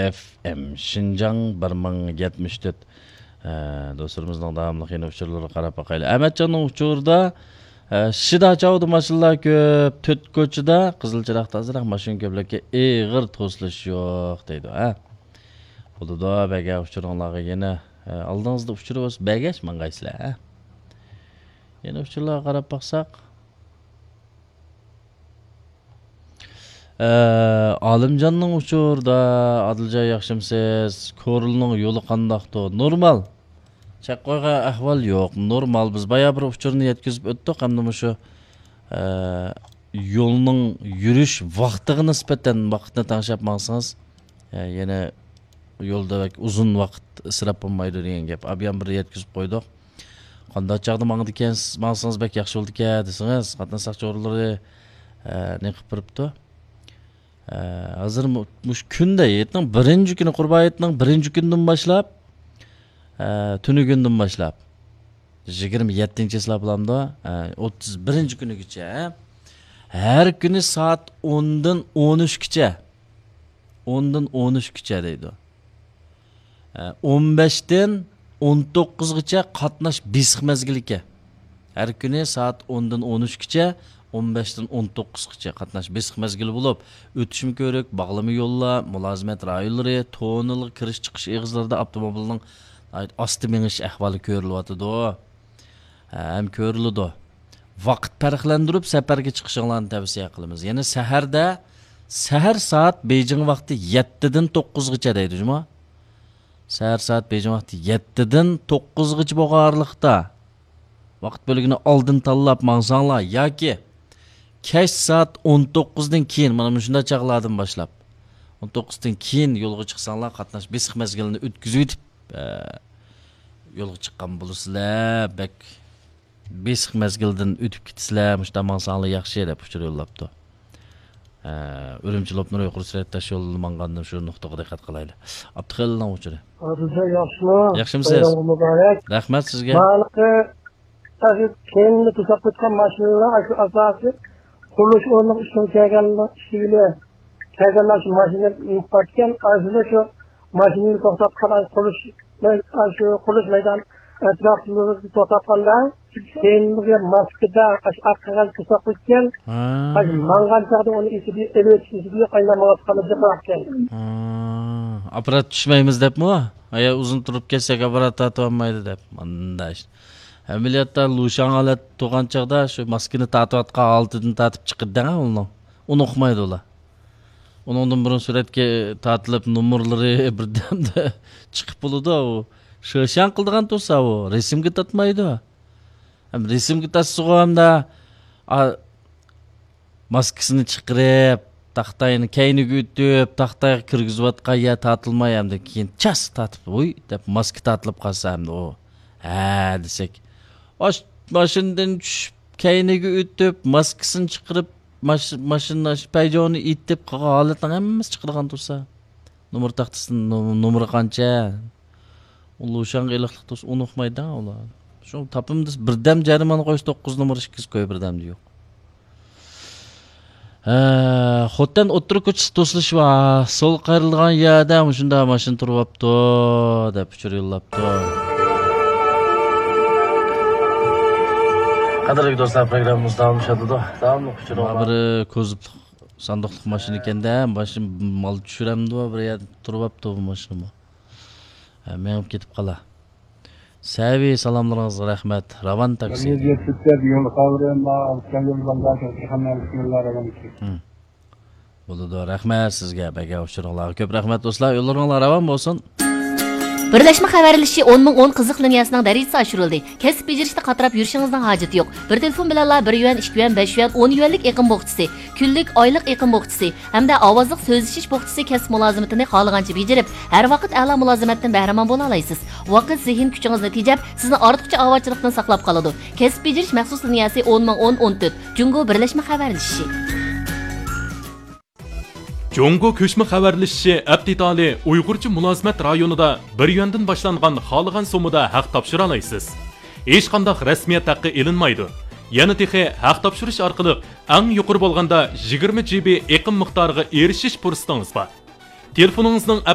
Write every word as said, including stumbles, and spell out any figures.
ئېف ئېم، شىنجاڭ بىر مىڭ يەتمىش تۆت. ئە، دوستلىرىمىزنىڭ داۋاملىق يەنە ئۇچۇرلىرىغا قاراپ باقايلى. ئەمەتجاننىڭ ئۇچۇرىدا، ئە، شىدا چاۋدا ماشىنىلار كۆپ، تۆت كوچىدا قىزىل چىراغدا ئازراق ماشىنا كۆپلۈككە ئېغىر توسۇلۇش يوق دەيدۇ، ھە. بولىدۇ، بەرگەن ئۇچۇرۇڭلارغا يەنە، ئە، ئالدىڭىزدا ئۇچۇر بولسا بەرگەچ ماڭغايسىلەر، ھە. يەنە ئۇچۇرلارغا قاراپ باقساق. ئە، ئالىمجاننىڭ ئۇچۇرىدا، ئادىلجان ياخشىمسىز؟ كورلىنىڭ يولى قانداقتۇ؟ نورمال. چەكقويغا ئەھۋال يوق. نورمال. بىز بايا بىر ئۇچۇرنى يەتكۈزۈپ ئۆتتۇق. ئەمدى مۇشۇ، ئە، يولنىڭ يۈرۈش ۋاقتىغا نىسبەتەن ۋاقىتنى تەڭشەپ ماڭسىڭىز، ئە، يەنە يولدا بەك ئۇزۇن ۋاقىت ئىسراپ بولمايدۇ دېگەن گەپ. ئابيان بىر يەتكۈزۈپ قويدۇق. قانداق چاغدا ماڭىدىكەنسىز، ماڭسىڭىز بەك ياخشى بولىدىكەن دېسىڭىز، قاتناش ساقچى ئورۇنلىرى، ئە، نېقىپ بېرىپتۇ. ئە، ھازىر مۇ-، مۇشۇ كۈندە، ھېيتنىڭ بىرىنچى كۈنى، قۇربان ھېيتنىڭ بىرىنچى كۈنىدىن باشلاپ، ئە، تۈنۈگۈندىن باشلاپ، يىگىرمە يەتتىنچى ھېسابلامدا، ئە، ئوتتۇز بىرىنچى كۈنىگىچە، ھەر كۈنى سائەت ئوندىن ئون ئۈچكىچە، ئوندىن ئون ئۈچكىچە دەيدۇ. ئە، ئون بەشتىن ئون توققۇزغىچە قاتناش بېسىق مەزگىلى ئىكەن. ھەر كۈنى سائەت ئوندىن ئون ئۈچكىچە، ئون بەشتىن ئون توققۇزغىچە قاتناش بېسىق مەزگىلى بولۇپ، ئۆتۈشمە كۆۋرۈك، باغلىما يوللار، مۇلازىمەت رايونلىرى، توننېلغا كىرىش چىقىش ئېغىزلىرىدا ئاپتوموبىلنىڭ ناھايىتى ئاستا مېڭىش ئەھۋالى كۆرۈلۈۋاتىدۇ. ھەم كۆرۈلىدۇ. ۋاقىت پەرقلەندۈرۈپ سەپەرگە چىقىشىڭلارنى تەۋسىيە قىلىمىز. يەنى سەھەردە، سەھەر سائەت بېيجىڭ ۋاقتى يەتتىدىن توققۇزغىچە دەيدۇ جۇمۇ. سەھەر سائەت بېيجىڭ ۋاقتى يەتتىدىن توققۇزغىچە بولغان ئارىلىقتا ۋاقىت بۆلىكىنى ئالدىن تاللاپ ماڭساڭلار ياكى كەچ سائەت ئون توققۇزدىن كېيىن، مانا مۇشۇنداق چاغلاردىن باشلاپ، ئون توققۇزدىن كېيىن يولغا چىقساڭلار، قاتناش بېسىق مەزگىلىنى ئۆتكۈزۈۋېتىپ، ئە، يولغا چىققان بولىسىلەر. بەك بېسىق مەزگىلدىن ئۆتۈپ كېتىسىلەر، مۇشۇنداق ماڭساڭلار ياخشى دەپ ئۇچۇر يوللاپتۇ. ئە، ئۈرۈمچى لوپنۇر يۇقىرى سۈرئەت تاش يولىدا ماڭغاندا شۇ نۇقتىغا دىققەت قىلايلى. ئابدۇخېلىلنىڭ ئۇچۇرى. ئابدۇخېلىل ياخشىمۇ؟ ياخشىمۇسىز؟ بايرامىڭىز مۇبارەك. رەھمەت سىزگە. ماڭىلىقى تاشيول كەينىدە توساپ قويغان ماشىنىلار ئاشۇ ئاساسىي قۇرۇلۇش ئورنىنىڭ ئۈستىگە كەلگەن ئۈستىگە كەلگەنلەر شۇ ماشىنا مىنىپ باركەن، ئاشۇ شۇ ماشىنىنى توختاتقان، ئاشۇ قۇرۇلۇش، ئاشۇ قۇرۇلۇش مەيدان ئەتراپىدا توختاتقاندا، كەينىگە ماسكىدا ئاشۇ ئارقىغا توساپ قويغان، ھا. ئاشۇ ماڭغان چاغدا ئۇنى ئېسىدە، ئېلىۋېتىش ئېسىدە قاينامايۋاتقانلىقى بار ئىكەن. ھا، ئاپپارات چۈشمەيمىز دەپمۇ؟ ئايا ئۇزۇن تۇرۇپ كەتسەك ئاپپارات تارتىۋالمايدۇ دەپ. مانداش. ئەمەلىيەتتە لۇشاڭ ھالەت تۇرغان چاغدا شۇ ماسكىنى تارتىۋاتقان ھالىتىدىن تارتىپ چىقىدۇ دەڭە ئۇنىڭ. ئۇنى ئۇقمايدۇ ئۇلار. ئۇنىڭدىن بۇرۇن سۈرەتكە تارتىلىپ، نومۇرلىرى بىردەمدە چىقىپ بولىدۇ. ئۇ شىشاڭ قىلىدىغان تۇرسا، ئۇ رەسىمگە تارتمايدۇ. ھەم رەسىمگە تارتسىغۇ ئەمدى، ئا، ماسكىسىنى چىقىرىپ، تاختاينى كەينىگە ئۆتۈپ، تاختايغا كىرگۈزۈۋاتقان يەر تارتىلماي، ئەمدى كېيىن چاس تارتىپ، ۋۇي دەپ ماسكا تارتىلىپ قالسا، ئەمدى ئۇ، ھە دېسەك، ئاش-، ماشىنىدىن چۈشۈپ، كەينىگە ئۆتۈپ، ماسكىسىنى چىقىرىپ، ماش-، ماشىنا پەيجونى ئېتىپ، قالغان ھالەتنىڭ ھەممىسى چىقىدىغان تۇرسا. نومۇر تاختىسىنىڭ نوم-، نومۇرى قانچە؟ ئۇ لۇشاڭغا ئېلىقلىق تۇرسا، ئۇنى ئۇقمايدۇ ئۇلار. شۇ تاپىمىز بىردەم جەرىمانە قويسا، توققۇز نومۇر ئىككىسى كوي بىردەمدە يوق. ھە، خوتەن ئوتتۇرا كوچىسى توسۇلۇشى بار. سول قايرىلغان يەردە مۇشۇنداق ماشىنا تۇرۇۋاپتۇ، دەپ ئۇچۇر يوللاپتۇ. قەدىرلىك دوستلار، پروگراممىمىز داۋاملىشىۋاتىدۇ. داۋاملىق ئۇچۇرۇڭلار. بىر كوزۇپلۇق ساندۇقلۇق ماشىنا ئىكەندە، ماشىنا مال چۈشۈرەمدۇ، بىر يەردە تۇرۇۋاپتۇ بۇ ماشىنىمۇ. ھە، مېڭىپ كېتىپ قالا. سەۋىي، سالاملىرىڭىزغا رەھمەت. راۋان تاكسى. ھىم. بولىدۇ. رەھمەت سىزگە، بەرگەن ئۇچۇرۇڭلارغا كۆپ رەھمەت، دوستلار. يوللىرىڭلار راۋان بولسۇن. بىرلەشمە خەۋەرلىشىشى ئون مىڭ ئون قىزىق لىنىيەسىنىڭ دەرىجىسى ئاشۇرۇلدى. كەسىپ بېجىرىشتە قاتراپ يۈرۈشىڭىزنىڭ ھاجىتى يوق. بىر تېلېفون بىلەنلا بىر يۈەن، ئىككى يۈەن، بەش يۈەن، ئون يۈەنلىك ئېقىم بوخچىسى، كۈنلۈك، ئايلىق ئېقىم بوخچىسى ھەمدە ئاۋازلىق سۆزلىشىش بوخچىسى كەسىپ مۇلازىمىتىنى خالىغانچە بېجىرىپ، ھەر ۋاقىت ئەلا مۇلازىمەتتىن بەھرىمەن بولالايسىز. ۋاقىت، زېھىن كۈچىڭىزنى تېجەپ، سىزنى ئارتۇقچە ئاۋارىچىلىقتىن ساقلاپ قالىدۇ. كەسىپ بېجىرىش مەخسۇس لىنىيەسى ئون مىڭ ئون ئون تۆت، جۇڭگو بىرلەشمە خەۋەرلىشىشى. جۇڭگو كۆچمە خەۋەرلىشىشى ئەپتىتالى ئۇيغۇرچە مۇلازىمەت رايونىدا بىر يۈەندىن باشلانغان خالىغان سوممىدا ھەق تاپشۇرالايسىز. ھېچقانداق رەسمىيەت ھەققى ئېلىنمايدۇ. يەنە تېخى ھەق تاپشۇرۇش ئارقىلىق ئەڭ يۇقىرى بولغاندا يىگىرمە جى بى ئېقىم مىقدارىغا ئېرىشىش پۇرسىتىڭىز بار. تېلېفونىڭىزنىڭ